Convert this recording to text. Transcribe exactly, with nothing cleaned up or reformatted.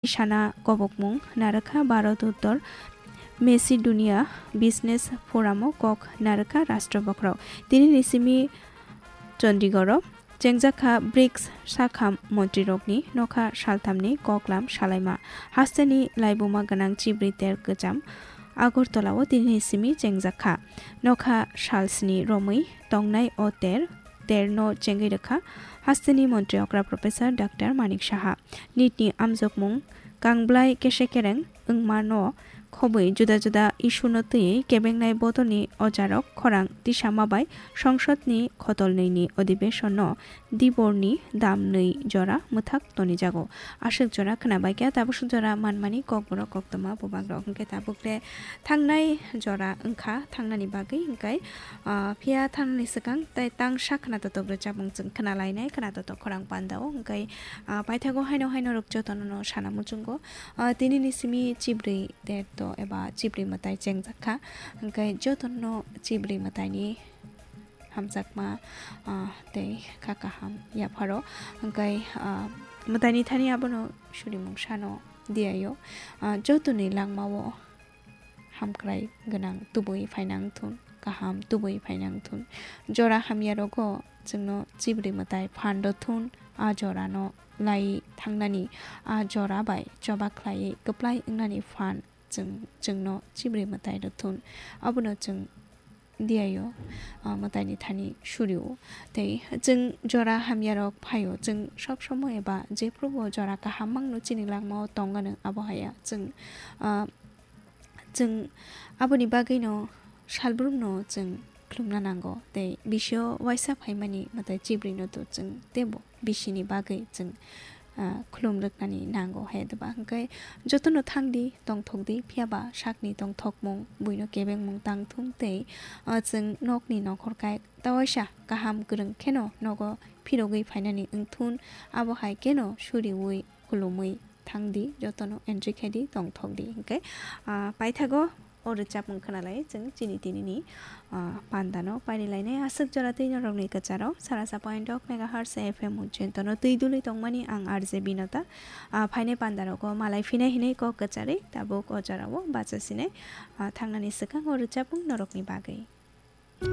sana kobokmung narwkha Bharat Uttor Macedonia Business Forum o kok narwkha Rashtra Bokhorok. Tini ni simi Chandigarh o chengjakha brics sakha montrirokni nokha salthamni koklam salaima. Hasteni laibuma gwnang chibri ter kwcham Agartala o tini ni simi chengjakha. Nokha salsni romwi tongnai o ter, ter no chengwi rwkha hasteni montri okra Professor Doctor Manik Saha. Nit ni amjokmung kangblai kese kereng wngmano khobwi juda juda issue no twiwi kebengnai bodolni ojarok khorang tisama bai songsodni khotolnwini odibesonno diborni damnwi jora mwthak tonijago. Aswk jora khwnabaikha, tabuk swk jora manmani kokborok koktwma bubagrok hwnkhe tabukle thangnai jora wngkha thangnani bagwi hwnkhe, ah, phiya thangnani swkang tei tangsa khwnatotok rwchapmung chwng khwnalainai khwnatotok khorang pandao hwnkhe, ah, paithago haino haino rwk jotono no sana muchungo. Ah, tini ni simi chibri derto eba chibri mwtai chengjakha. Hwnkhe jotono chibri mwtaini hamjakma, ah, tei kha kaham yapharo. Hwnkhe, ah, mwtaini thani abono surimung sano diyaio. Ah, jotoni langmao hamkrai gwnang tubui phainang thun, kaham tubui phainang thun. Jora hamya rogo chwngno chibri mwtai phan rw thun, a jorano lai thangnani, a jora bai choba khlaiwi kwplai wngnani phan chwng, chwngno chibri mwtai rw thun. Abono chwng diyaio, ah, mwtaini thani surio. Tei chwng jora hamya rok phaio, chwng sob somo eba jephrubo jora kaham mangno chini langmao tongano abo haya. Chwng, ah, chwng aboni bagwino salbrumno chwng khulumna nango. Tei bisio waisa phaimani mwtai chibrino to chwng teibo bisini bagwi chwng, ah, khulum rwknani nango hai doba. Hwnkhe jotono thangdi, tongthokdi, phiyaba sakni tongthokmung, buino kebengmung tangthung tei, ah, chwng nokni nokhorkai tawaisa kaham kwrwng kheno nogo phirogwi phainani wngthun, abo hai kheno suriui khulumui thangdi, jotono entry khaidi, tongthokdi. Hwnkhe, ah, paithago o rwchapmung khwnalai chwng chini tinini, ah, pandano pairilainai aswk jora twi norokni kwcharo sarasa point ok megahertz F M Mujento no twi dului tongmani ang R J Binota. Ah, phainai pandarogo malai phinai hinwi kok kwcharwi tabuk o jorao bachasinai, ah, thangnani swkang o rwchapmung norokni bagwi.